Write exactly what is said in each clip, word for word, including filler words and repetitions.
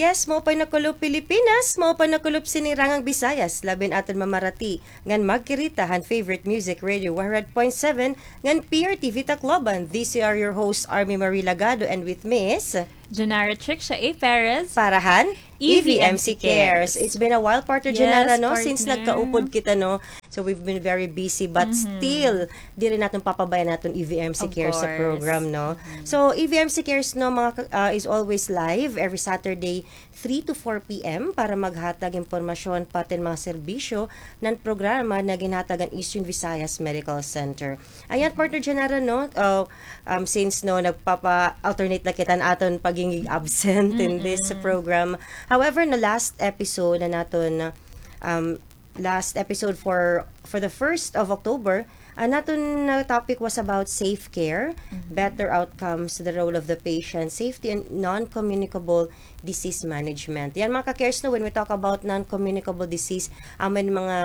Yes, maupay nga kulop Pilipinas, maupay nga kulop sinirangan Visayas, labi na aton mamarati ngan magkirita han favorite music radio one hundred point seven ngan P R T V Tacloban. This are your host, Army Marie Lagado, and with me is Janara Tricia A Perez. Para han E V M C Cares. It's been a while, partner Janara, no, since nagkaupod kita, no. So we've been very busy, but still, diri naton papabayaan aton E V M C Cares sa program, no. So E V M C Cares, no, mga ka-, ah, is always live every Saturday, three to four p.m. para maghatag impormasyon pati mga serbisyo nan programa na ginhatag han Eastern Visayas Medical Center. Ayan, partner Janara, no? Uh, um, since, no, nagpapa-alternate na kita han aton pagiging absent in this program. However, na last episode na naton, um, last episode for for the first of October, an aton, uh, topic was about safe care, better outcomes, the role of the patient, safety, and non-communicable disease management. Yan, mga ka-cares, no, when we talk about non-communicable disease, amo an mga,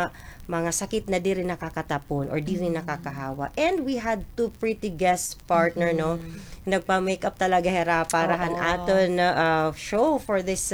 mga sakit na diri nakakatapon or diri nakakahawa. And we had two pretty guest partner, no? Nagpa-makeup talaga hira para han aton, uh, show for this,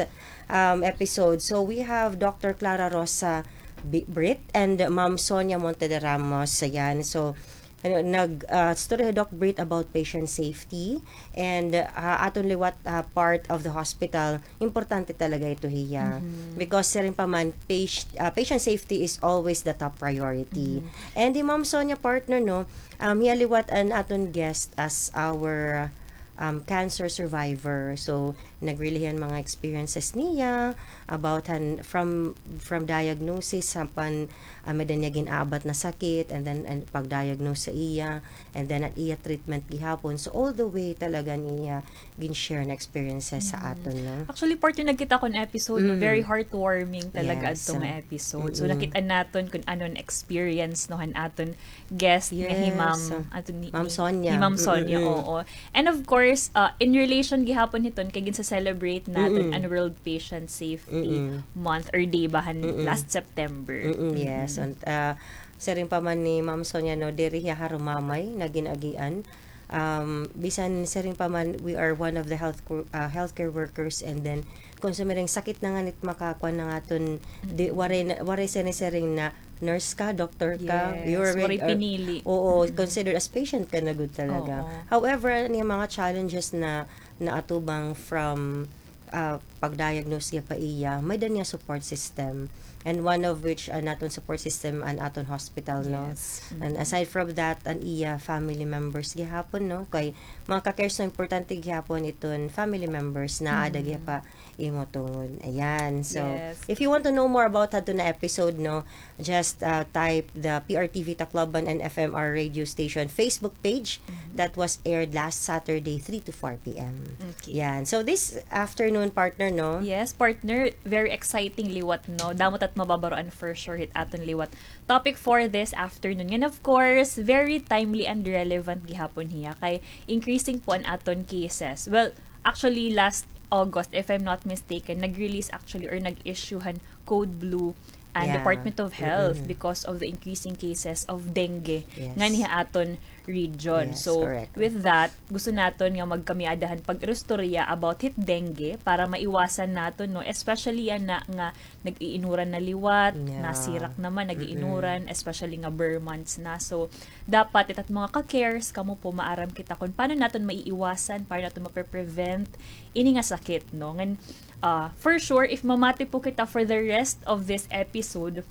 um, episode. So we have Doctor Clara Rosa Bi-, Brit and Ma'am Sonia Monte de Ramos. Ayan. So, ano, nag, ah, story hi Doc Brit about patient safety and, ah, aton liwat, ah, part of the hospital, importante talaga ito hiya. Because siring pa man, pati-, ah, patient safety is always the top priority. And hi Ma'am Sonia, partner, no, um, hiya liwat an aton guest as our, um, cancer survivor. So, nag-relay han mga experiences niya about han, from, from diagnosis, han pan, ah, may-ada niya gin-abat na sakit, and then, and pag-diagnose sa iya, and then an iya treatment gihapon. So, all the way talaga niya gin-share na experiences sa aton, no? Actually, partner, nagkita ko an episode, no? Very heartwarming talaga adto nga episode. So, nakita naton kon ano an experience, no, han aton guest nga hi Ma'am, ato ni, Ma'am Sonia. Hi Ma'am Sonia, oo. And of course, uh, in relation gihapon hiton kay ginsa-celebrate naton an World Patient Safety Month or Day ba han last September. Yes, and, uh, siring pa man ni Ma'am Sonia, no, diri hiya harumamay nga gin-agian. Um, bisan siring pa man, we are one of the health co-, uh, healthcare workers, and then kon sumiring sakit na ngani it makakuan na nga aton, di, waray na, waray siring na nurse ka, doktor ka, waray pinili. Oo, considered as patient ka na gud talaga. However, an iya mga challenges na naatubang from, ah, pag-diagnose niya pa iya, may-ada niya support system. And one of which, ah, an aton support system, an aton hospital, no? And aside from that, an iya family members gihapon, no? Kay mga ka-cares, no, importante gihapon iton family members na aada gihap ha imo tungod. Ayan. So, if you want to know more about hadto na episode, no, just, uh, type the P R T V Tacloban and F M R radio station Facebook page that was aired last Saturday, three to four p.m. Yan. So, this afternoon, partner, no? Yes, partner, very exciting liwat, no? Damo it at mababaroan for sure hit aton liwat topic for this afternoon. And of course, very timely and relevant gihapon hiya kay increasing po an aton cases. Well, actually, last August, if I'm not mistaken, nag-release actually or nag-issue han Code Blue an Department of Health because of the increasing cases of dengue nganhi ha aton region. So, with that, gusto naton nga magkamay-ada han pag-istorya about hit dengue para maiwasan naton, no? Especially yana nga nag-iinuran na liwat, nasirak naman, nag-iinuran, especially nga ber months na. So, dapat it at mga ka-cares, kamo po maaram kita kon paano naton maiiwasan, paano naton mape-prevent ini nga sakit, no? Ngan, ah, for sure, if mamati po kita for the rest of this episode,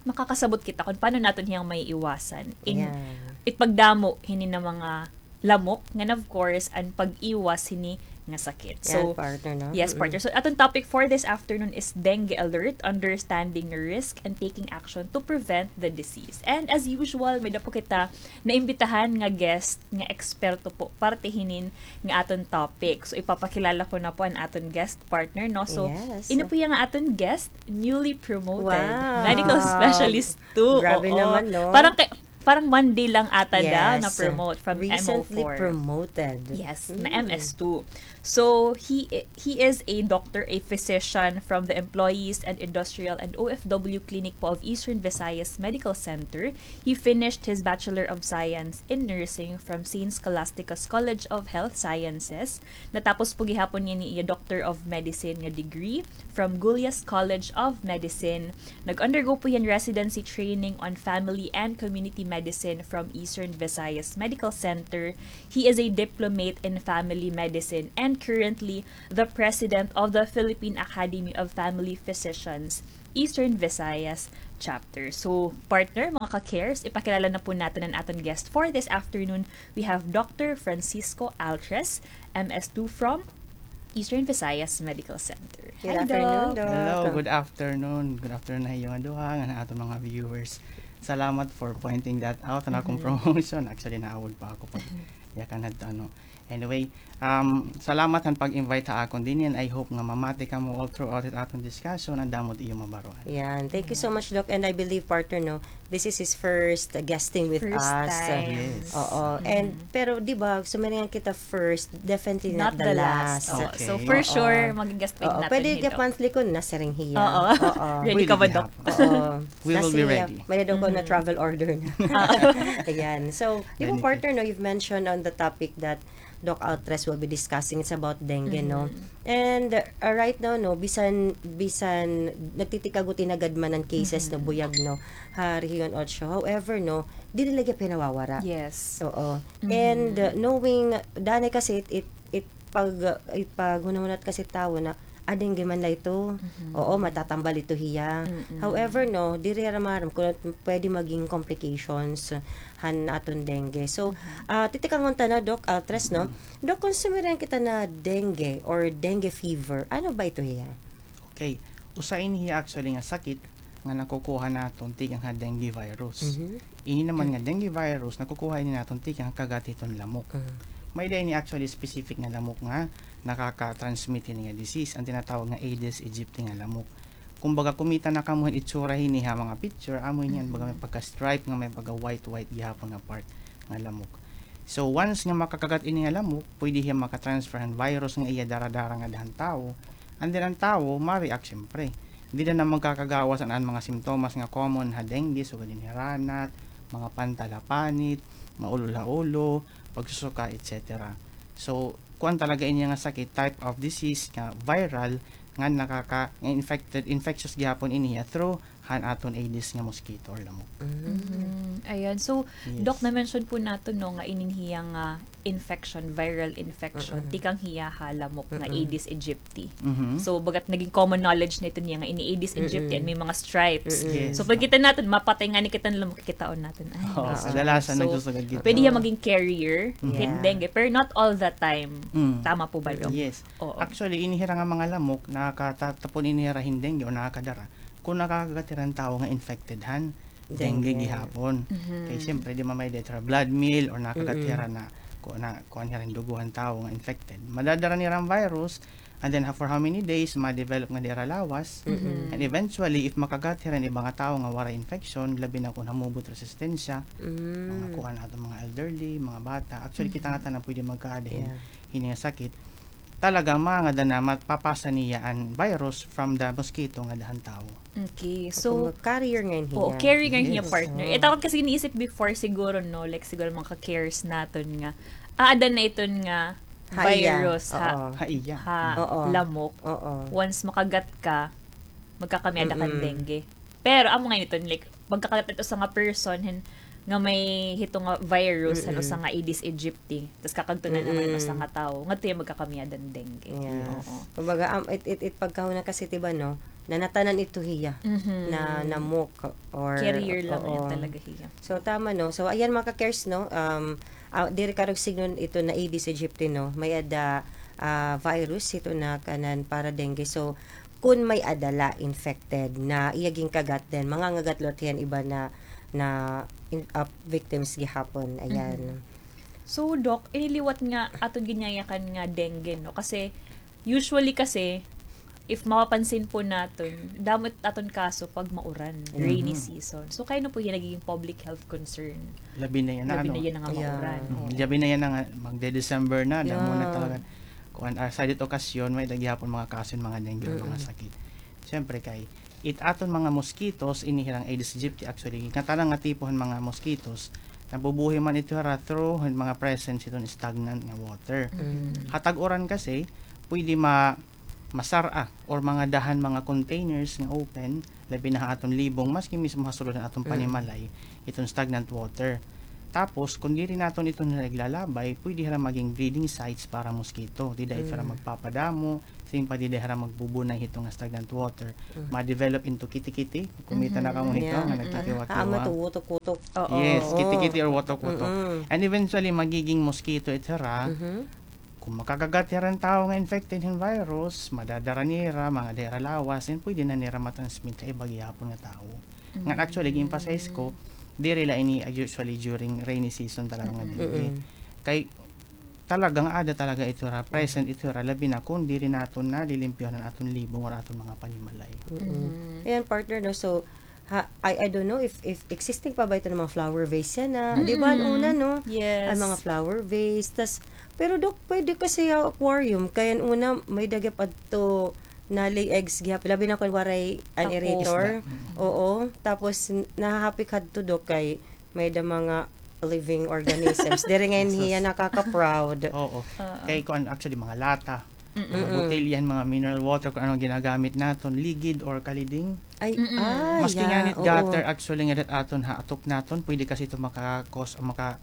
makakasabot kita kon paano naton hiyang maiiwasan. In, it pagdamo hini nga mga lamok, ngan of course, an pag-iwas hini nga sakit. So, partner, no? Yes, partner. So, aton topic for this afternoon is dengue alert, understanding risk and taking action to prevent the disease. And as usual, may-ada po kita naimbitahan nga guest nga eksperto po parte hinin nga aton topic. So, ipapakilala ko na po an aton guest partner, no? So, ini po iya nga aton guest, newly promoted medical specialist two. Grabe naman, no? Parang kay, parang one day lang ata daw na-promote from M O four. Recently promoted. Yes, na M S two. So, he i- he is a doctor, a physician from the Employees and Industrial and O F W Clinic po of Eastern Visayas Medical Center. He finished his Bachelor of Science in Nursing from Saint Scholastica's College of Health Sciences. Natapos po gihapon niya ni iya Doctor of Medicine nga degree from Gulyas College of Medicine. Nag-undergo po hiya hin residency training on family and community medicine from Eastern Visayas Medical Center. He is a diplomate in family medicine and currently the president of the Philippine Academy of Family Physicians, Eastern Visayas Chapter. So, partner, mga ka-cares, ipakilala na po natin an aton guest for this afternoon. We have Doctor Francisco Altres, M S two from Eastern Visayas Medical Center. Good afternoon, Doc. Hello, good afternoon. Good afternoon ha iyo nga duha, ngan ha aton mga viewers. Salamat for pointing that out, an akon promotion. Actually, naawod pa ako pag yakan hadto, ano. Anyway, um, salamat han pag-invite ha akon dinhi, and I hope nga mamati kamo all throughout it aton discussion, an damo it iyo mabaruan. Yan. Thank you so much, Doc. And I believe, partner, no, this is his first, uh, guesting with us. First time. Yes. Oo. And, pero, di ba, sumiring kita first, definitely not the last. Oo. So, for sure, mag-guest pa naton hito. Pwede gihap monthly kon nasiring hiya. Oo. Ready ka ba, Doc? Oo. We will be ready. May daw ko na travel order na. Ayan. So, di ba, partner, no, you've mentioned on the topic that Doc Altres will be discussing, it's about dengue, no? And, uh, right now, no, bisan, bisan nagtitikagot-inagad man an cases, no, buyag, no, ha Region Ocho. However, no, diri la gihap hiya nawawara. Yes. Oo. And, uh, knowing, danay kasi it, it, it pag, it paghunahunat kasi tawo na, ah, dengue man la ito. Oo, matatambal ito hiya. However, no, diri hira maaram kon pwede maging complications han aton dengue. So, ah, titikangon ta na, Doc Altres, no? Doc, kon sumiring kita na dengue or dengue fever, ano ba ito hiya? Okay. Usa ini hiya actually nga sakit nga nakukuha naton tikang ha dengue virus. Ini naman nga dengue virus, nakukuha ini naton tikang ha kagat hiton lamok. May-ada ini actually specific nga lamok nga nakaka-transmit hini nga disease, an tinatawag nga Aedes aegypti nga lamok. Kumbaga, kumita na kamo hin itsura hini ha mga picture, amo ini, an baga may pagka-stripe nga may pagka-white-white gihapon nga part nga lamok. So, once nga makakagat ini nga lamok, pwede hiya maka-transfer han virus nga iya dara-dara ngada han tawo. And then, an tawo, ma-react, siyempre. Dida na magkakagawas an, an mga simptomas nga common ha dengue, sugad hin hiranat, mga pantal ha panit, maulol ha ulo, pagsusuka, et cetera. So, kuan talaga ini nga sakit, type of disease nga viral, nga nakaka-, nga infected, infectious gihapon ini hiya through han aton Aedes nga mosquito or lamok. Ayan. So, Doc, na-mention po naton, no, nga inin hiya nga infection, viral infection, tikang hiya ha lamok nga Aedes aegypti. So, bagat naging common knowledge na ito niya nga ini Aedes aegypti and may mga stripes. Yes. So, pagkita naton, mapatay ngani kita han lamok, kikitaon naton. Ay, kadalasan nagsusugad kita. Pwede hiya maging carrier hin dengue, pero not all the time. Tama po ba, Doc? Yes. Oo. Actually, ini hira nga mga lamok, nakakatapon ini hira hin dengue o nakakadara kon nakakagat hira hin tawo nga infected han dengue gihapon. Kay siyempre, di man may-ada hira blood meal or nakakagat hira na, ku-, na, kuan hira hin dugo han tawo nga infected. Madadara nira an virus, and then ha-, for how many days, ma-develop ngada hira lawas. And eventually, if makagat hira hin iba nga tawo nga waray infection, labi na kon hamubot resistensya, mga kuan aton mga elderly, mga bata. Actually, kita ngatanan pwede magkaada hin, hini nga sakit. Talaga, mangada na mapapasa niya an virus from the mosquito ngada han tawo. Okay, so, carrier ngay-an hiya. Oo, carrier ngay-an hiya, partner. Ito akon kasi iniisip before siguro, no, like siguro mga ka-cares naton nga, aada na iton nga virus ha, ha lamok. Once makagat ka, magkakamiada ka hin dengue. Pero amo ngay-an iton, like, magkakagat usa nga person hin, nga may hito nga virus han usa nga Aedes aegypti, tas kakadto na naman usa nga tawo, ngadto hiya magkakamiada hin dengue. Yes. Oo. Kumbaga, am, it, it, it pagkahuna kasi, di ba, no, nanatanan ito hiya na, na lamok or carrier lang talaga hiya. So, tama, no? So, ayan, mga ka-cares, no? Um, ah, diri karuyag sidngon ito na Aedes aegypti, no? May-ada, ah, virus ito na kanan para dengue. So, kon may-ada la infected na iya ginkagat, then mangangagat liwat hiya hin iba na, na in-, ah, victims gihapon. Ayan. So, Doc, ini liwat nga aton ginyayakan nga dengue, no? Kasi, usually kasi, if mapapansin po naton, damo it aton kaso pag mauran, rainy season. So, kay ano po hiya nagiging public health concern? Labi na yana, labi na yana nga mauran. Oo. Labi na yana nga magde-December na, damo na talaga. kuan, ah, sa didto okasyon, may-ada gihapon mga kaso hin mga dengue, mga sakit. Siyempre kay, it aton mga mosquitoes, ini hirang Aedes aegypti, actually, ngatanan nga tipo hin mga mosquitoes, nabubuhi man ito hira through hin mga presence hiton stagnant nga water. Ha tag-uran kasi, pwede ma-, masar-a or mangada han mga containers nga open, labi na ha aton libong, maski mismo ha sulod han aton panimalay, iton stagnant water. Tapos, kon diri naton iton hira iglalabay, pwede hira maging breeding sites para mosquito. Dida ito hira magpapadamo, siring pa dida hira magbubunay hito nga stagnant water. Ma-develop into kitikiti. Kumita na kamo hito nga nagkikiwa-kiwa. Yes, kitikiti or wotok-wotok. And eventually, magiging mosquito ito hira. Kon makakagat hira hin tawo nga infected hin virus, madadara nira, mangada hira lawas, and pwede na nira ma-transmit ha iba gihapon nga tawo. Ngan actually, gi-emphasize ko, diri la ini, ah, usually during rainy season talaga nga dengue. Kay talaga nga ada talaga ito hira, present ito hira, labi na kon diri naton nalilimpyohan an aton libong or aton mga panimalay. Ayan, partner, no? So, ha, I, I don't know if, if existing pa ba ito nga mga flower vase yana. Di ba, an una, no? Yes. An mga flower vase. Tas, pero, Doc, pwede kasi ha aquarium. Kay an una, may-ada gihap adto na-lay eggs gihap. Labi na kon waray an aerator. Oo. Tapos, n-, nahahapik hadto, Doc, kay may-ada mga living organisms. Diri ngay-an hiya nakaka-proud. Oo. Kay kuan, actually, mga lata, mga botelya hin mga mineral water, kon ano an ginagamit naton, ligid or kaliding. Ay, ah, maski ngani gutter, actually, nga dida ha aton ha atop naton, pwede kasi ito maka-cause, maka,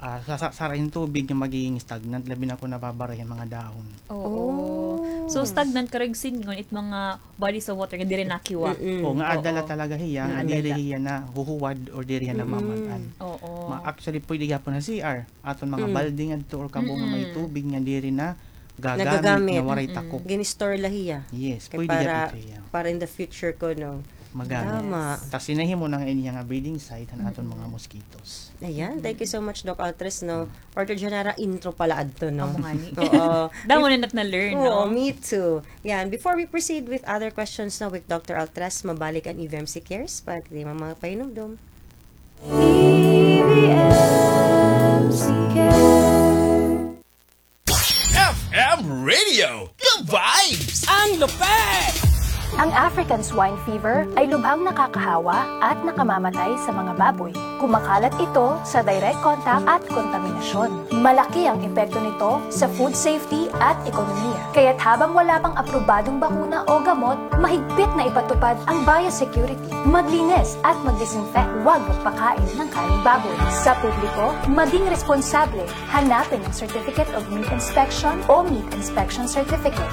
ah, sa-, sa-, sara hin tubig nga magiging stagnant, labi na kon nababara hin mga dahon. Oo. So, stagnant, karuyag sidngon, it mga bodies of water nga diri nakiwa. Oo, nga ada la talaga hiya, nga diri hiya nahuhuwad or diri hiya namamad-an. Oo. Ma-, actually, pwede gihapon ha C R, aton mga balde ngadto or kabo nga may tubig nga diri nagagamit, nga waray takop. Gin-store la hiya. Yes, pwede gihapon hiya. Para in the future kuno. Magamit. Tama. Tas hinahimo na nga ini nga breeding site han aton mga mosquitoes. Ayan, thank you so much, Doc Altres, no? Partner Janara, intro pa la adto, no? Amo ngani. Oo. Damo na nat na-learn, no? Oo, me too. Yan, before we proceed with other questions, no, with Doctor Altres, mabalik an E V M C Cares para kay mga pahinumdom. E V M C Cares. F M Radio, the vibes! Ang lupit! Ang African swine fever ay lubhang nakakahawa at nakamamatay sa mga baboy. Kumakalat ito sa direct contact at kontaminasyon. Malaki ang epekto nito sa food safety at ekonomiya. Kaya't habang wala pang aprobadong bakuna o gamot, mahigpit na ipatupad ang biosecurity. Maglinis at mag-disinfect. Huwag magpakain ng karneng baboy. Sa publiko, maging responsable. Hanapin ang Certificate of Meat Inspection o Meat Inspection Certificate.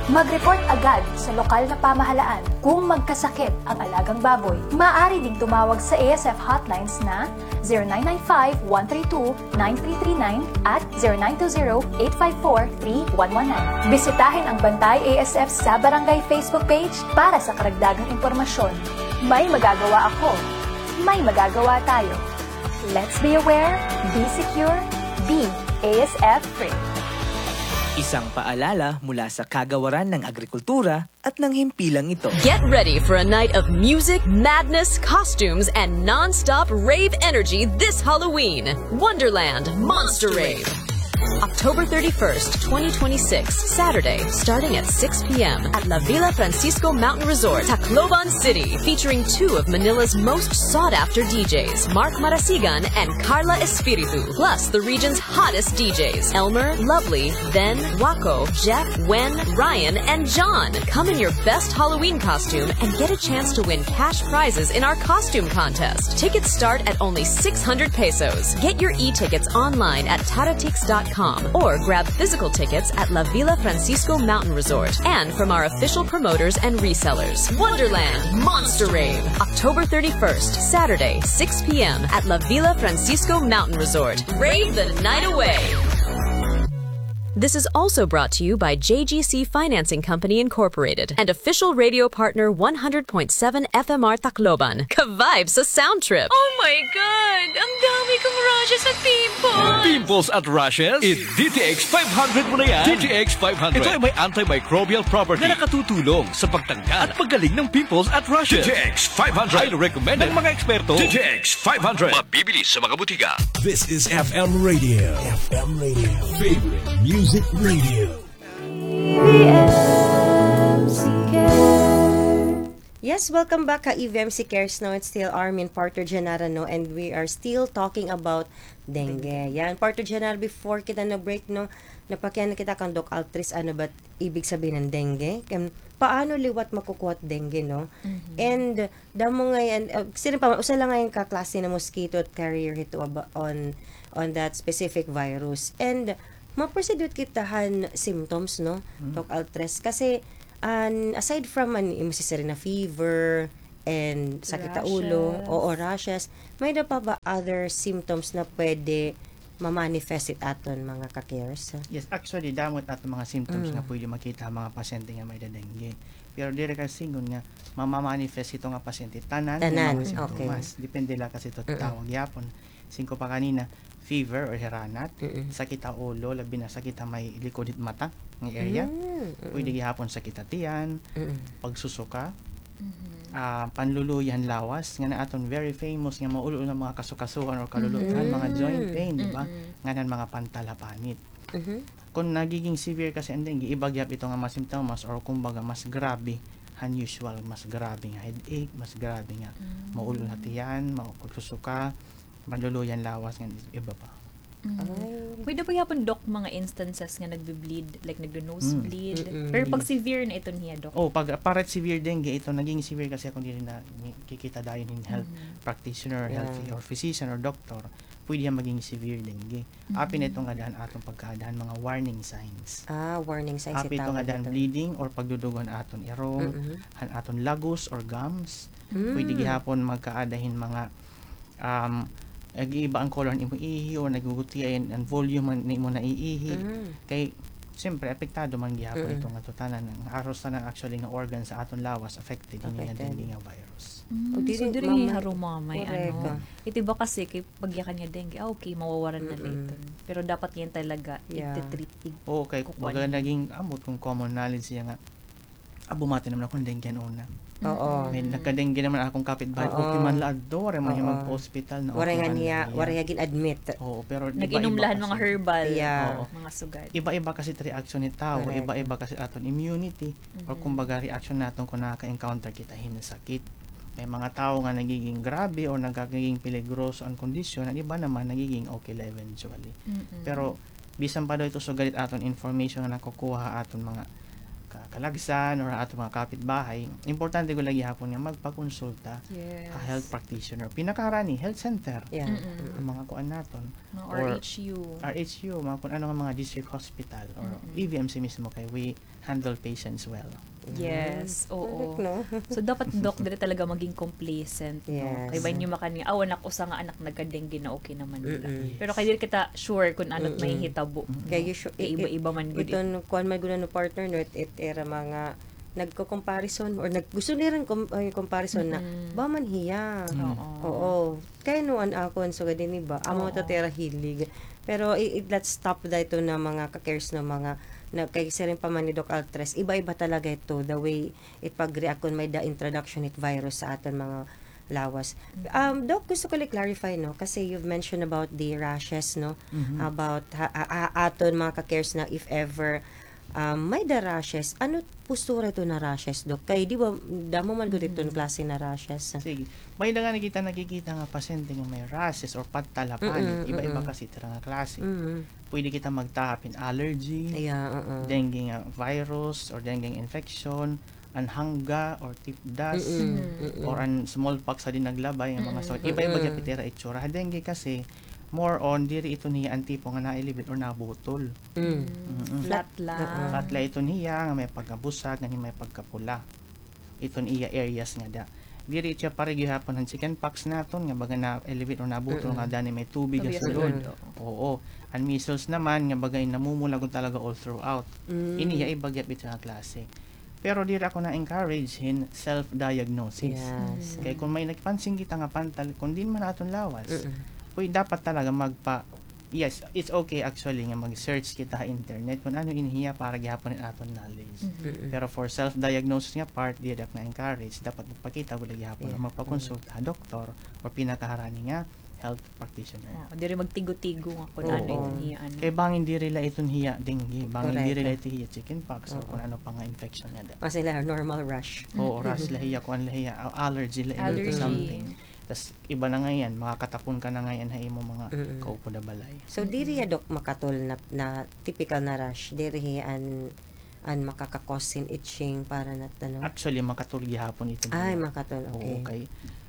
Mag-report agad sa lokal na pamahalaan kung magkasakit ang alagang baboy. Maaari ding tumawag sa A S F hotlines na zero nine nine five, one three two, nine three three nine at zero nine two zero, eight five four, three one one nine. Bisitahin ang Bantay A S F sa Barangay Facebook page para sa karagdagang impormasyon. May magagawa ako. May magagawa tayo. Let's be aware, be secure, be A S F free. Isang paalala mula sa Kagawaran ng Agrikultura at ng himpilang ito. Get ready for a night of music, madness, costumes, and non-stop rave energy this Halloween. Wonderland Monster Rave. October thirty-first, twenty twenty-six, Saturday, starting at six p.m. at La Villa Francisco Mountain Resort, Tacloban City, featuring two of Manila's most sought-after D Js, Mark Marasigan and Carla Espiritu, plus the region's hottest D Js, Elmer, Lovely, Ben, Waco, Jeff, Wen, Ryan, and John. Come in your best Halloween costume and get a chance to win cash prizes in our costume contest. Tickets start at only six hundred pesos. Get your e-tickets online at taratix dot com or grab physical tickets at La Villa Francisco Mountain Resort and from our official promoters and resellers. Wonderland Monster Rave, October thirty-first, Saturday, six p.m. at La Villa Francisco Mountain Resort. Rave the night away. This is also brought to you by J G C Financing Company Incorporated and official radio partner one hundred point seven F M R Tacloban. Ka-vibe sa sound trip. Oh my God! Ang dami kong rashes at pimples! Pimples at rashes? I-D T X five hundred mo na yan. D T X five hundred. Ito ay may antimicrobial property na nakatutulong sa pagtanggal at paggaling ng pimples at rashes. D T X five hundred. Highly recommended ng mga eksperto. D T X five hundred. Mabibili sa mga butika. This is F M Radio. F M Radio. Favorite Music Radio. E V M C Cares. Yes, welcome back ha E V M C Cares, no? It's still Armin, partner Janara, no? And we are still talking about dengue. Dengue. Yan, partner Janara, before kita na-break, no? Napakiana kita kan Doc Altres, ano ba ibig sabihin ng dengue? Kan, paano liwat makukuha it dengue, no? Mhm. And, damo ngay-an, uh, siring pa man, usa la ngay-an ka klase nga mosquito it carrier hito aba-, on, on that specific virus. And, ma-proceed kita han symptoms, no? Hmm. Doc Altres. Kasi, an, aside from an, imo sisiring nga fever, and sakit ha ulo, rashes. Oo, rashes. May-ada pa ba other symptoms nga pwede ma-manifest it aton mga ka-cares? Yes, actually, damo it aton mga symptoms nga pwede makita ha mga pasyente nga may-ada dengue. Pero diri ka siring nga mama-manifest hito nga pasyente tanan nga mga symptoms. Tanan, okay. Depende la kasi hito tawo gihapon. Siring ko pa kanina, fever or hiranat, sakit ha ulo, labi na sakit ha may likod hit mata nga area. Mm, mm. Pwede gihapon sakit ha tiyan, pagsusuka, ah, panluluya han lawas, ngan an aton very famous nga maul-ol nga mga kasukasuhan or kalulutan, mga joint pain, di ba? Ngan an mga pantal ha panit. Mhm. Kon nagiging severe kasi an dengue, iba gihap ito nga mga simptomas or kumbaga mas grabe han usual, mas grabe nga headache, mas grabe nga maul-ol ha tiyan, ma-, pagsusuka, panluluya han lawas, ngan iba pa. Mm. Ay. Pwede pa gihapon, Doc, mga instances nga nagbe-bleed, like nagno-nosebleed. Mm. Pero pag severe na ito niya, Doc? Oh, pag, para severe dengue, ito naging severe kasi akon diri nakikita dayon hin health practitioner, health or physician or doctor, pwede hiya maging severe dengue. Apin ito nga daan aton pagkaada han mga warning signs. Ah, warning signs. Apin ito nga daan bleeding or pagdudugo han aton irong, han aton lagus or gums. Pwede gihapon magkaada hin mga, um, nag-iiba an color han imo ihi or nagugutiay an, an volume han imo naiihi. Kay, siyempre, apektado man gihapon ito nga tanan. An haros tanan actually nga organ sa aton lawas affected hini nga dengue nga virus. Mm, so, diri harumamay, ano. Ito iba kasi kay pag yakan nga dengue, ah, okay, mawawaran na la iton. Pero dapat ngay-an talaga iti-treat. Oo, kay baga naging, ambot kon common knowledge hiya nga, ah, bumati naman ako hin dengue han una. Oo. May nagka-dengue naman akon kapitbahay. Okay man la adto, waray man hiya magpa-hospital na, waray nga niya, waray nga gin-admit. Oo, pero nag-inom la hin mga herbal, mga sugad. Iba-iba kasi it reaction hit tawo, iba-iba kasi aton immunity, or kumbaga reaction naton kon nakaka-encounter kita hin sakit. May mga tawo nga nagiging grabe or nagiging peligroso an kondisyon, an iba naman nagiging okay la eventually. Pero bisan pa daw ito sugad it aton information nga nakukuha ha aton mga ka-, kalagsan or aton mga kapitbahay, importante gud la gihapon nga magpakonsulta ha health practitioner. Pinakaharani, health center. An mga kuan naton. Mga R H U. R H U, mga kun ano nga mga district hospital or E V M C mismo kay we handle patients well. Yes, oo. Correct, no? So, dapat, Doc, diri talaga maging complacent, no? Yes. Kay bangin makan nga, aw, anak, usa nga anak nagka-dengue na, okay naman la. Pero kay diri kita sure kun ano it mahihitabo, no? Kay iba-iba man gud. Iton kuan man gud, ano, partner, no? It, it ira mga nagko-comparison or nag-, gusto nira kom-, ay, comparison na, ba man hiya? Oo. Kay no, an akon sugad ini ba, amo ito it ira hilig. Pero i-, i-, let's stop da ito na mga ka-cares na mga, na kay siring pa man ni Doc Altres, iba-iba talaga ito, the way it pag-react kon may-ada introduction it virus sa aton mga lawas. Um, Doc, gusto ko la i-clarify, no, kasi you've mentioned about the rashes, no, about ha-, a-, a-, aton mga ka-cares na if ever um, may-ada rashes. Ano postura ito na rashes, Doc? Kay di ba, damo man gud iton klase na rashes. Sige. May-ada ngani kita nakikita nga pasyente nga may rashes or pantal ha panit. Iba-iba kasi it ira nga klase. Pwede kita magtahap hin allergy, dengue nga virus or dengue nga infection, an hangga or tetanus, or an smallpox ha dinaglabay nga mga sakit. Iba-iba gihap it ira itsura. Ha dengue kasi, more on, diri ito niya an tipo nga na-elevate or nabutol. Flat la. Flat la iton hiya, nga may pagkabusag, ngan may pagkapula. Iton iya areas ngada. Diri siya pareho gihapon han chickenpox naton, nga baga na-elevate o nabutol nga dani may tubig ha sulod. Oo. An measles naman, nga baga namumula gud talaga all throughout. Ini iya iba gihap ito nga klase. Pero diri ako na-encourage hin self-diagnosis. Kay kon may nagpansin kita nga pantal, kon diin man aton lawas, uy, dapat talaga magpa- Yes, it's okay actually nga mag-search kita ha internet kon ano ini hiya para gihapon hin aton knowledge. Pero for self-diagnosis nga part, diri ako na-encourage. Dapat magpakita gud la gihapon o magpakonsulta ha doktor or pinakaharani nga health practitioner. Oo, diri magtigo-tigo nga kun ano iton hiya, ano. Kay bangin diri la iton hiya dengue, bangin diri la iton hiya chickenpox or kun ano pa nga infection nga ada. Mas ila normal rash. Oo, rash la hiya, kuan la hiya, a-, allergy la iton to something. Tas iba na ngay-an, makakatapon ka na ngay-an ha imo mga kaupod ha balay. So, diri hiya, Doc, makatol na, na typical na rash. Diri hiya an an makaka-cause hin itching para nat-, ano? Actually, makatol gihapon iton hiya. Ay, makatol, okay. Oo, kay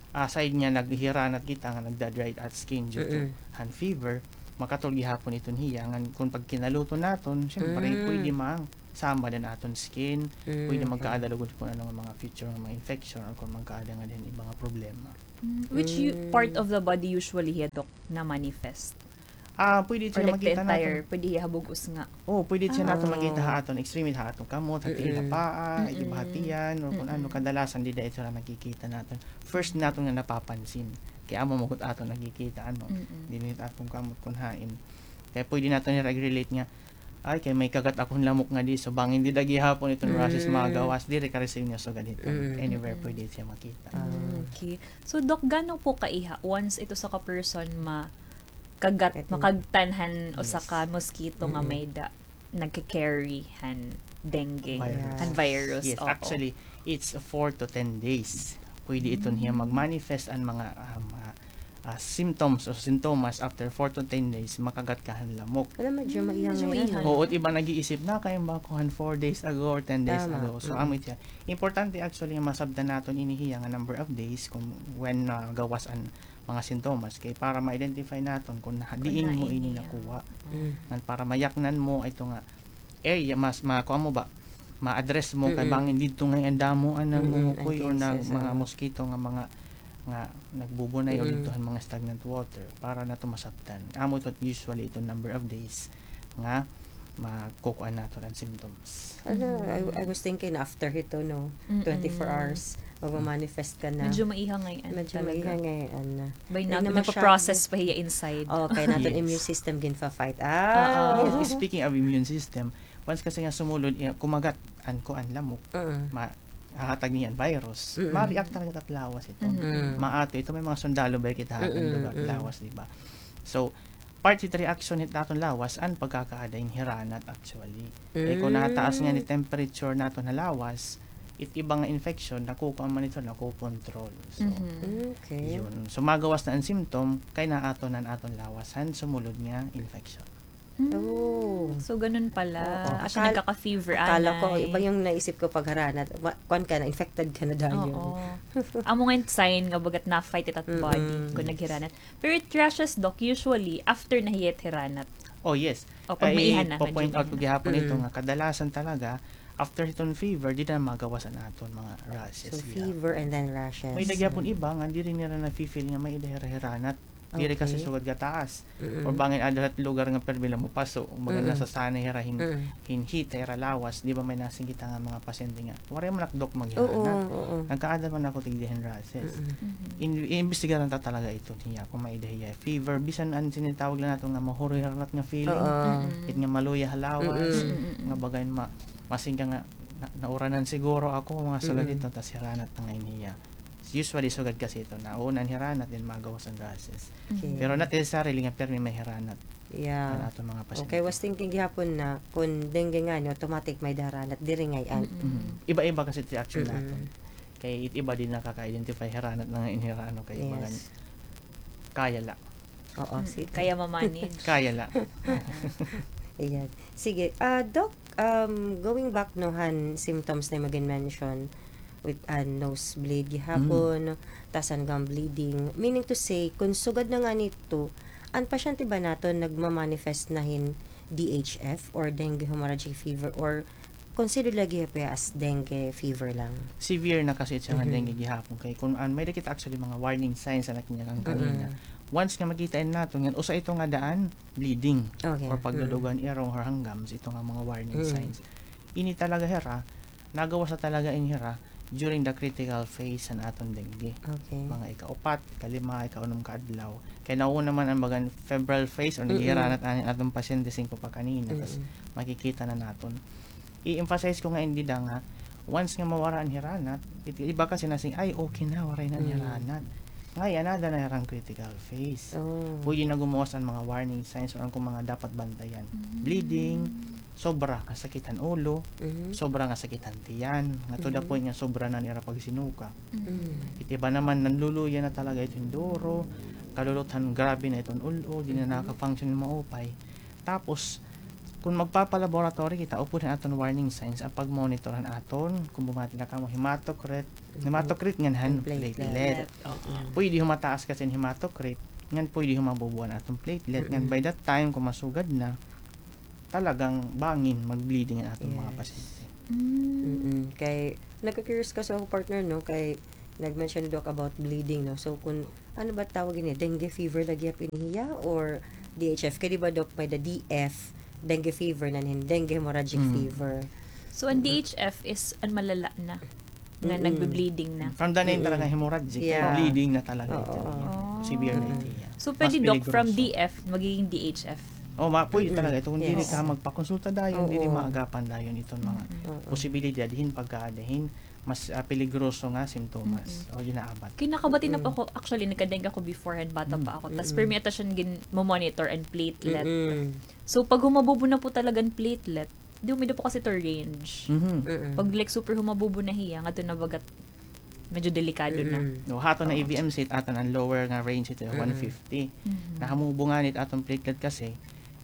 aside nga naghiranat kita nga nagda-dry out skin due to han fever, makatol gihapon iton hiya. Ngan kun pagkinaluto naton, syempre, pwede masamad an aton skin, pwede magkaada lugod kun ano nga mga future nga mga infection or kun magkaada nga din iba nga problema. Mm, which part of the body usually hiya, Doc, na-manifest? Ah, pwede siya makita naton. Pwede hiya ha bug-os nga. Oo, pwede siya naton makita ha aton extremity, ha aton kamot, ha tiil, ha paa, iba ha tiyan, or kun ano, kadalasan dida ito na nakikita naton. First naton nga napapansin. Kay amo man gud aton nakikita, ano, dinhi ha aton kamot kun hain. Kay pwede naton i-relate nga, ay, kay may kagat akon lamok nga di, so bangin dida gihapon iton rashes magawas, diri ka-receive niya sugad hiton. Anywhere pwede siya makita. Mm, okay. So, Doc, gano po kaiha once ito sa ka person ma- kagat, makagtan han usa ka mosquito nga may-ada nagka-carry han dengue, han virus. Yes, actually, it's four to ten days. Pwede iton hiya mag-manifest an mga, ah, mga, ah, symptoms o sintomas after four to ten days, makagat ka han lamok. Wala, medyo maiha ngay-an. Oo, it iba nag-iisip na kay ba ako han four days ago or ten days ago. So, amo it hiya. Importante actually nga masabtan naton ini hiya nga number of days kung when nagawas an mga sintomas kay para ma-identify naton kun ha-, diin mo ini nakuha. Ngan para mayaknan mo ito nga area, mas makuha mo ba, ma-address mo kay bangin didto ngay-an damo an nangungukoy or na mga mosquito nga mga, nga nagbubunay o didto han mga stagnant water para nato masabtan. Amo ito usually ito number of days nga makukuan nato an symptoms. Hala, I, I was thinking after hito, no? Twenty-four hours, magma-manifest ka na. Medyo maiha ngay-an talaga. Medyo maiha ngay-an na. By na, nagpa-process pa hiya inside. Oh, kay naton immune system ginfa-fight. Ah, speaking of immune system, once kasi nga sumulod, iya, kumagat an kuan lamok, ma-, hahatag niya an virus. Ma-react talaga it at lawas ito. Maato ito, may mga sundalo ba kita ha aton lugar, lawas, di ba? So, part hit reaction hit aton lawas an pagkakaada hin hiranat actually. Kay kun nataas nga ni temperature naton ha lawas, it iba nga infection, nakukuan man ito, nakokontrol. So, yun. So, magawas na an symptom, kay naato na an aton lawas han sumulod nga infection. Oh. So, ganun pala. Oo. Asya nagkaka-fever, akala ko, iba yung naisip ko pag haranat. Kuan ka na, infected ka na dayon. Oo. Amo nga sign nga bagat na-fight it at body kun naghiranat. Pero it rashes, Doc, usually, after na hiya it hiranat. Oh, yes. O, pag maiha na, ipo-point out ko gihapon ito nga kadalasan talaga, after hiton fever, dida na magawas an aton mga rashes. So, fever and then rashes. May-ada gihapon iba nga diri nira nafi-feel nga may-ada hira hiranat. Diri kasi sugad gataas. Or bangin ada hit lugar nga permi la mapaso, kumbaga nasasanay hira hin, hin heat ha ira lawas, di ba may nasiring kita nga mga pasyente nga waray man ak, Doc, maghiranat. Nagkaada man ako tigda hin rashes. In-, iimbestigaran ta talaga ito niya kung may-ada hiya fever. Bisan an sinitawag la naton nga mahuroy hiranat nga feeling. It nga maluya ha lawas. Nga baga in ma-, masiring ka nga, na-, nauranan siguro ako, mga sugad ito, tas hiranat na ngay-an hiya. Usually, sugad kasi ito, nauna an hiranat, then magawas an rashes. Pero not necessarily nga permi may hiranat. Yeah. An aton mga pasyente. Okay, was thinking gihapon na kun dengue ngani, automatic may-ada hiranat, diri ngay-an. Iba-iba kasi it reaction naton. Kay it iba diri nakaka-identify hiranat na nga inhirano kay iba ngani. Kaya la. Oo, sige. Kaya ma-manage. Kaya la. Ayan. Sige, ah, Doc, um, going back, no, han symptoms na imo gin-mention, with, ah, nose bleed gihapon, tas an gum bleeding. Meaning to say, kun sugad na ngani ito, an pasyente ba naton nagma-manifest na hin D H F or dengue hemorrhagic fever or considered lagi pa as dengue fever lang? Severe na kasi siya nga dengue gihapon kay kun an may-ada kita actually mga warning signs na kinakang kanina. Once nga makita naton nga usa ito nga daan, bleeding or pagdudugo an irong or han gums, ito nga mga warning signs. Ini talaga hira, nagawas na talaga ini hira during the critical phase han aton dengue. Mga ikaupat, ikalima, ikaunom ka adlaw. Kay nauna man an bagan febrile phase or naghihiranat an aton pasyente singko pa kanina, tas makikita na naton. I-emphasize ko nga indi da nga, once nga mawara an hiranat, it-, iba kasi nasiring, "Ay, okay na, waray na an hiranat." Ngay-an, ada na hira han critical phase. Oh. Pwede na gumuwas an mga warning signs or an kon mga dapat bantayan. Mm. Bleeding, sobra nga sakit han ulo, Mhm. sobra nga sakit han tiyan, nga to the Mhm. point nga sobra na an ira pagsinuka. Mm. It iba naman, nanluluya na talaga iton duro, kaluluthan, grabe na iton ul-ol, di na Mhm. nakaka-function maupay. Tapos, kon magpapa-laboratory kita, upod han aton warning signs, an pag-monitor han aton, kon bumati na kamo, hematocrit, Mhm. hematocrit ngan han An platelet. platelet. Oo. Pwede humataas kasi an hematocrit, ngan pwede humabubo an aton platelet, ngan Mm-mm. by that time, kon masugad na, talagang bangin mag-bleeding an aton mga Yes. pasyente. Mm. Mm-mm. Kay, nagka-curious kasi ako, partner, no? Kay, nag-mention, Doc, about bleeding, no? So, kung, ano ba tawag ini? Dengue fever lagi gihap ini hiya or D H F? Kay, di ba, Doc, may the D F, dengue fever, ngan hin dengue hemorrhagic Mm. fever. So, an Mm. D H F is an malala na, nga Mm-mm. nagbe-bleeding na. From the name Mm-mm. talaga, hemorrhagic, Yeah. bleeding na talaga Oo, ito. oo. Severe na Mm-mm. ito, yeah. So, Mas pwede, Doc, from peligroso. D F, magiging D H F? Oh, ma-, pwede Mm-mm. talaga ito. Kung diri Yes. ka magpakonsulta dayon, diri Oo. maagapan dayon iton mga Mm-mm. Oo. posibilidad hin pagkaada hin mas, ah, peligroso nga simptomas Mm-mm. o ginaabat. Kinakabati na po Mm. ako. Actually, nagka-dengue ako before, han bata Mm. pa ako. Tas Mm-mm. pirmi ata siya gin-monitor an platelet. Mm-mm. So, pag humabubo na po talaga an platelet, di, umida po kasi to range. Mhm. Mm-mm. Pag, like, super humabubo na hiya, ngadto na bagat medyo delikado na. Mm-mm. No, hato na Oo. E V M C, it aton an lower nga range ito, Mm-mm. one fifty. Mhm. Nahamubo ngani it aton platelet kasi,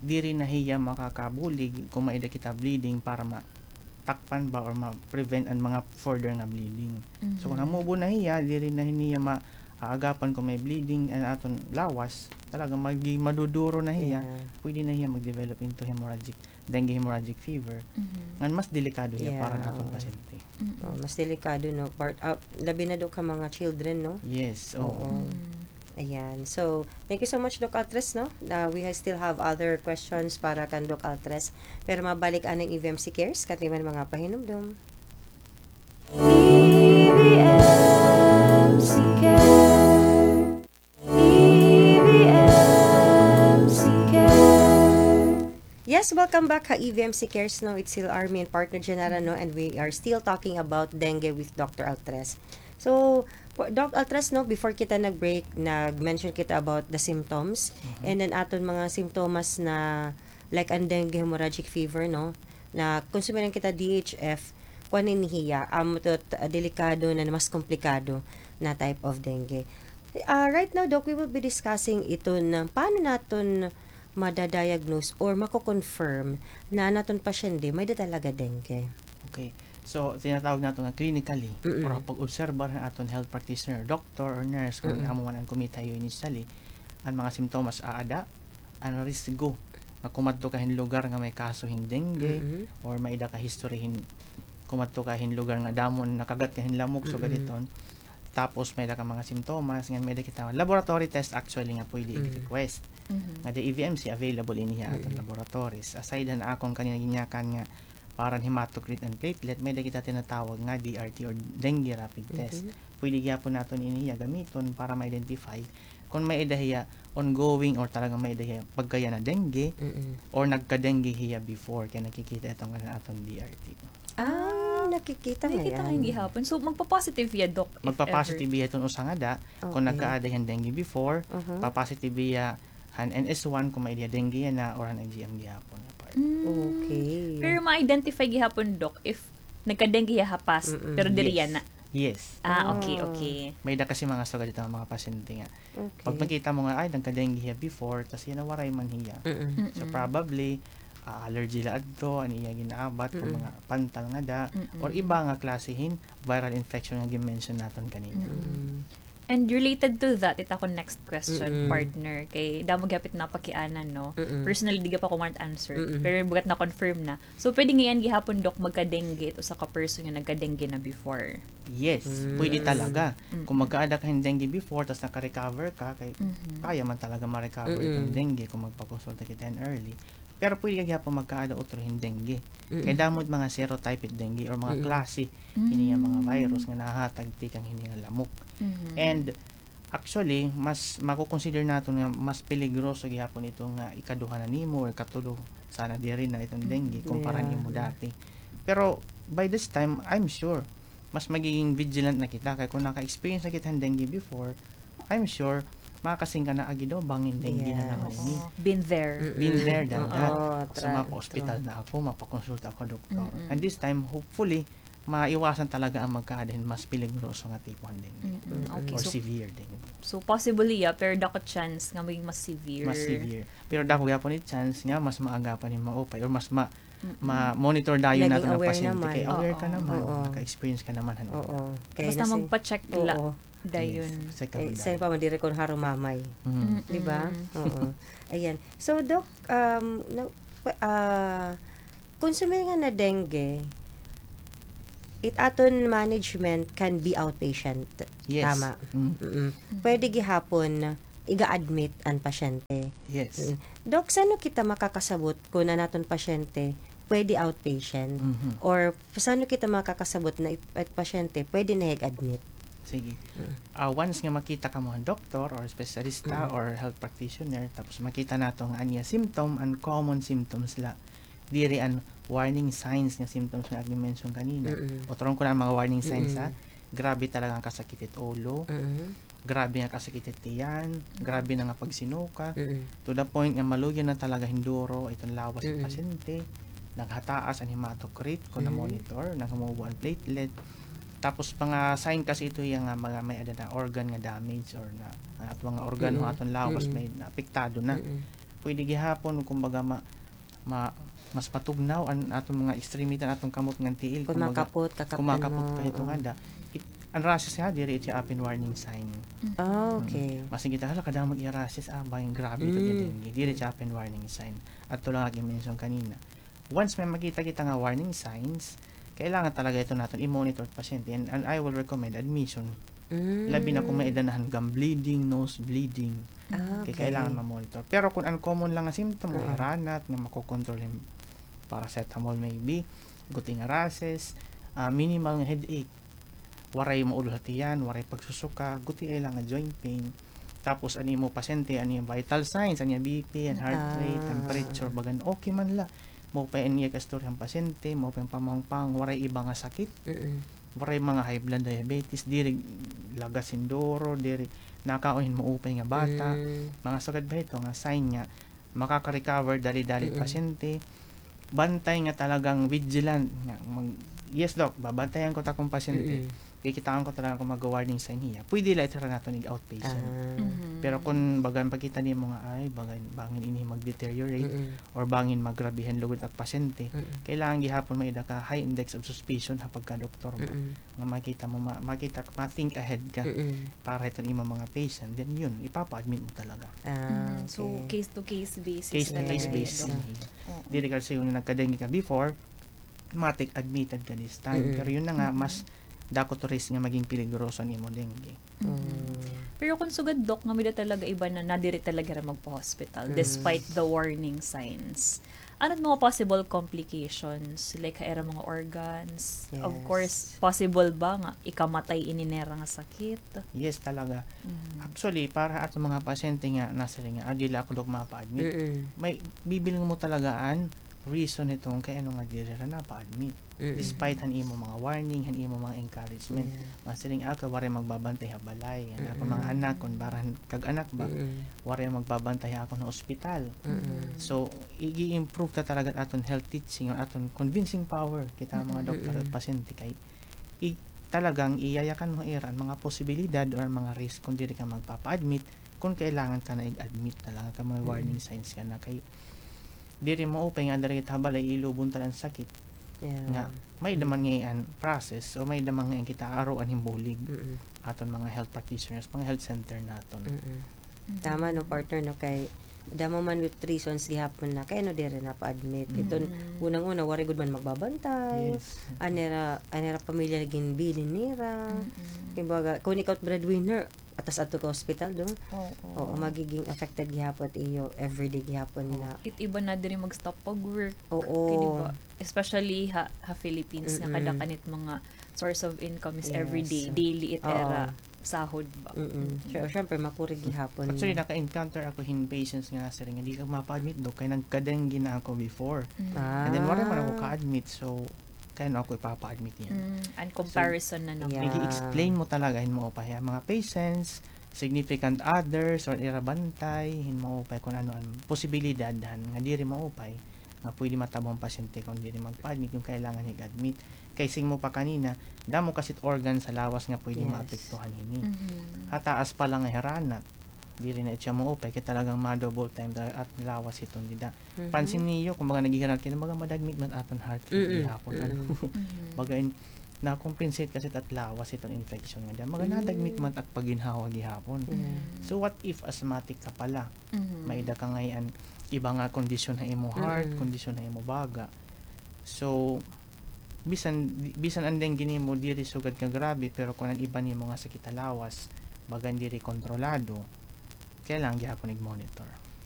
diri na hiya makakabulig kon may-ada kita bleeding para matakpan ba or ma-prevent an mga further nga bleeding. So, kon Mhm. hamubo na hiya, diri na hiya maaagapan kon may bleeding an aton lawas, talaga magi-, maduduro na hiya, Yeah. pwede na hiya mag-develop into hemorrhagic dengue hemorrhagic fever, Mhm. ngan mas delikado hiya Yeah, para han aton oo. pasyente. Mm. Oh, mas delikado, no? Part, ah, labi na daw ka mga children, no? Yes, oo. Oo. Mm. Ayan. So, thank you so much, Doc Altres, no? Ah, we ha-, still have other questions para kan Doc Altres. Pero mabalik an E V M C Cares, katiman mga pahinumdom. E V M C Cares. E V M C Cares. Yes, welcome back ha E V M C Cares, no? It's still Army and partner Genara, no? And we are still talking about dengue with Doctor Altres. So, po-, Doc Altres, no, before kita nag-break, nag-mention kita about the symptoms. Mhm. And then, aton mga simptomas na, like, an dengue hemorrhagic fever, no? Na kon sumiring kita D H F, kuan ini hiya, amo ito, ah, delikado na, mas komplikado na type of dengue. Ah, right now, Doc, we will be discussing iton paano naton mada-diagnose or mako-confirm na an aton pasyente may-ada talaga dengue. Okay. So, tinatawag naton nga clinically, Mm-mm. or pag-obserbar han aton health practitioner, doctor or nurse, kon Mm-mm. amo man an kumita ha iyo initially, an mga simptomas aada, an risgo nga kumadto ka hin lugar nga may kaso hin dengue, Mm-mm. or may-ada ka history hin kumadto ka hin lugar nga damo an nakagat ka hin lamok, sugad Mm-mm. hiton. Tapos may-ada ka mga simptomas, ngan may-ada kita laboratory test actually nga pwede Mm. i-request. Mhm. Nga the E V M C available ini ha aton Mm-mm. laboratories. Aside han akon kanina ginyakan nga para han hematocrit and platelet, may-ada kita tinatawag nga D R T or dengue rapid test. Mhm. Pwede gihapon naton ini hiya gamiton para ma-identify kon may-ada hiya ongoing or talagang may-ada hiya pagkayana dengue Mm-mm. or nagka-dengue hiya before, kay nakikita ito nga han aton D R T. Ah, nakikita Nakikita ngay-an. ngay-an gihapon. So, magpa-positive hiya, Doc, if Magpa-positive ever. hiya iton usa nga da, kon Okay. nagkaada hiya hin dengue before, Uh-huh. pa-positive hiya han N S one kon may-ada hiya dengue yana or han I G M gihapon nga part. Mm. Okay. Pero ma-identify gihapon, Doc, if nagka-dengue hiya ha past, Mm-mm. pero diri Yes. yana. Yes. Ah, okay, Oh. okay. May-ada kasi mga sugad hito nga mga pasyente nga Okay. Pag makita mo nga, ay, nagka-dengue hiya before, tas yana waray man hiya. Mm-mm. So, Mm-mm. probably, ah, allergy la adto, an iya ginaabat, kon Mm-mm. mga pantal nga da, Mm-mm. or iba nga klase hin viral infection nga gin-mention naton kanina. Mm-mm. And related to that, it akon next question, Mm-mm. partner, kay damo gihap it napakiana, no? Mm-mm. Personally, di gihap ako ma-answer, Mm-mm. pero bagat na-confirm na. So, pwede ngay-an gihapon, Doc, magka-dengue it usa ka person nga nagka-dengue na before? Yes, Mm. pwede talaga. Mm. Kung magkaada ka hin dengue before, tas naka-recover ka, kay Mhm. kaya man talaga ma-recover Mm-mm. iton dengue kung magpakonsulta kita hin early. Pero pwede ka gihapon magkaada utro hin dengue. Mm-mm. Kay damo it mga serotype it dengue or mga Mm-mm. klase hini nga mga Mm. virus nga nahahatag tikang hini nga lamok. Mhm. And Actually, mas mako-consider naton nga mas peligroso gihapon ito nga ikaduha na nimo or ikatulo, sana diri na iton dengue, Mm, kumpara nimo yeah. dati. Pero by this time, I'm sure, mas magiging vigilant na kita. Kay kung naka-experience na kita ng dengue before, I'm sure, makasingka na agi daw, bangin dengue na naman ini. Oo. Been there. Mm-mm. Been there, done that. Oo, so, mapa-hospital na ako, mapakonsulta ako, doktor. Mm-mm. And this time, hopefully, maiwasan talaga an magkaada hin mas peligroso nga tipo han dengue. Mm-mm. Okay, or so, severe dengue. So, possibly, yeah, pero dako chance nga maging mas severe. Mas severe. Pero dako gihapon it chance nga mas maagapan hin maupay or mas ma-, ma-monitor dayon naton an pasyente. Naging aware naman. Kay aware ka naman, naka-experience ka naman han ila. Oo. Basta magpa-check la dayon. Yes, check up dayon. Kay sa pa man diri kon harumamay. Mm. Di ba? Mm. Oo. Ayan. So, Doc, um, no, pa-, ah, kon sumiring nga na dengue, it aton management can be outpatient. Yes. Tama. Mm. Mm-mm. Pwede gihapon iga-admit an pasyente. Yes. Mm. Doc, san-o kita makakasabot kon an aton pasyente pwede outpatient? Mhm. Or san-o kita makakasabot na it, it pasyente pwede na hiya ig-admit? Sige. Mm. Ah, once nga makita kamo han doktor or espesyalista or health practitioner, tapos makita nato nga an iya symptom, an common symptoms la, diri an warning signs nga symptoms nga agi mention kanina. Mm-mm. Uturon ko na an mga warning signs, ha. Mm-mm. Grabe talaga an kasakit it ulo. Mm-mm. Grabe nga kasakit it tiyan. Mm-mm. Grabe na nga pagsinuka. Mm-mm. To the point nga maluya na talaga hin duro iton lawas hin pasyente. Mm-mm. Naghataas an hematocrit kon na-monitor, naghumubo an platelet. Tapos mga sign kasi ito hiya nga mga may-ada na organ nga damage or na, an aton mga organ o aton lawas may naapektado na. Mm-mm. Pwede gihapon, kumbaga, ma-, ma-, mas matugnaw an aton mga extremity, an aton kamot ngan tiil. Kon makapot, kakaptan mo. Kumbaga, kon makapot pa ito nga da. It, an rashes nga, diri it siya apin warning sign. Mm. Ah, okay. Mm. Basin kita, "Hala, kadamo iya rashes, ah, bangin grabe ito, diri." Diri siya apin warning sign. Adto la nga gi-mention kanina. Once may makita kita nga warning signs, kailangan talaga ito naton i-monitor it pasyente. And, and I will recommend admission. Mm. Labi na kon may-ada na han gum bleeding, nose bleeding. Ah, okay. Kay kailangan ma-monitor. Pero kon uncommon lang nga symptom, may ranat, nga makokontrol hin paracetamol maybe, guti nga rashes, ah, minimal nga headache, waray maudol ha tiyan, waray pagsusuka, guti ay lang nga joint pain. Tapos, an imo pasyente, an iya vital signs, an iya B P, an heart rate, temperature, bagan okay man la. Maupay an iya kaistorya han pasyente, maupay an pamangpang, waray iba nga sakit. Mm-mm. Waray mga high blood, diabetes, diri lagas hin duro, diri nakaon hin maupay nga bata. Mm. Mga sugad ba ito nga sign nga makaka-recover dali-dali pasyente. Bantay nga talagang vigilant nga mag-, "Yes, Doc, babantayan ko it akon pasyente." Mm-mm. Kikitaan ko talaga kon mag-warning sign hiya. Pwede la ito ra naton ig-outpatient. Ah. Mhm. Pero kon bagan pakita nimo nga, ay, bagan, bangin ini mag-deteriorate or bangin magrabe hin lugod it ak pasyente, kailangan gihapon may-ada ka high index of suspicion ha pagka-doktor mo. Mm-mm. Nga makita mo, ma-, makita, ma-think ahead ka para hiton imo mga patient. Then yun, ipapa-admit mo talaga. Ah, okay. Mm, so, case-to-case basis talaga. Case-to-case basis. Oo. Diri ka siguro nagka-dengue ka before, matik admitted ka this time. Mm-mm. Pero yun na nga, mas dako it risk nga maging peligroso an imo dengue. Mm. Pero kon sugad, Doc, nga may-ada talaga iba na nadiri talaga hira magpa-hospital despite the warning signs. Ano it mga possible complications? Like, ha ira mga organs? Of course, possible ba nga ikamatay ini nira nga sakit? Yes, talaga. Mm. Actually, para ha aton mga pasyente nga nasiring nga, "Ah, diri ako, Doc, mapa-admit." Mm-mm. May bibilngon mo talaga an reason hiton kay ano nga diri hira napa-admit. Mm-mm. Despite han imo mga warning, han imo mga encouragement. Yeah. Masiring, "Ah, kay waray magbabantay ha balay. An akon mga anak, kon baran kag anak ba, waray magbabantay ha akon ha ospital." Mm-mm. So, ig-i-improve ta talaga aton health teaching or aton convincing power kita mga doktor at pasyente kay i-, talagang iyayakan mo ira an mga posibilidad or an mga risk kon diri ka magpapa-admit, kon kailangan ka na ig-admit talaga kay may warning signs ka na kay diri maupay nga diri kita ha balay, ilubon ta la an sakit. Yeah. Nga, may-ada man ngay-an an process o may-ada man ngay-an kita aruan hin bulig. Mm-mm. Aton mga health practitioners, mga health center naton. Mm-mm. Tama, no, partner, no, kay damo man with reasons gihapon na kay ano diri napa-admit. Mm. Iton unang-una, waray gud man magbabantay. Yes. An ira, an ira pamilya ginbilin nira. Mm-mm. Kumbaga, kon ikaw it breadwinner, atas adto ka ospital, do? Oo. Oo, magiging affected gihapon iyo everyday gihapon na. It iba na diri mag-stop pag-work. Oo. Kay, di ba? Especially ha, ha Philippines, nga kada kanit mga source of income is everyday, daily it ira sahod ba. Mm-mm. Siyempre, makuri gihapon. Actually, naka-encounter ako hin patients nga nasiring nga, "Di ka mapa-admit, Doc, kay nagka-dengue na ako before. And then, waray man ako ka-admit, so, kay ano ako ipapa-admit niyan?" Mm, an comparison na naman. Yeah. Ig-i-explain mo talaga hin maupay ha mga patients, significant others or ira bantay, hin maupay kon ano an posibilidad han nga diri maupay, nga pwede matabang pasyente kon diri magpa-admit kon kailangan hig-admit. Kay sing mo pa kanina, damo kasi it organ sa lawas nga pwede maapektuhan hini. Ha taas pa la nga hiranat, diri na it siya maupay, kay talagang ma-double time ta-, at lawas hiton dida. Pansin niyo, kumbaga naghihiranat kay, kumbaga ma-admit man aton heart rate gihapon, ano? Baga in, na-compensate kasi it at lawas hiton infection nga dida. Baga na-admit man it at pagginhawa gihapon. So what if asthmatic ka pala? May-ada ka ngay-an iba nga kondisyon ha imo heart, kondisyon ha imo baga. So, bisan, bisan an dengue nimo diri sugad ka grabe, pero kon an iba nimo nga sakit ha lawas, baga diri kontrolado, kailangan gihapon ig-monitor.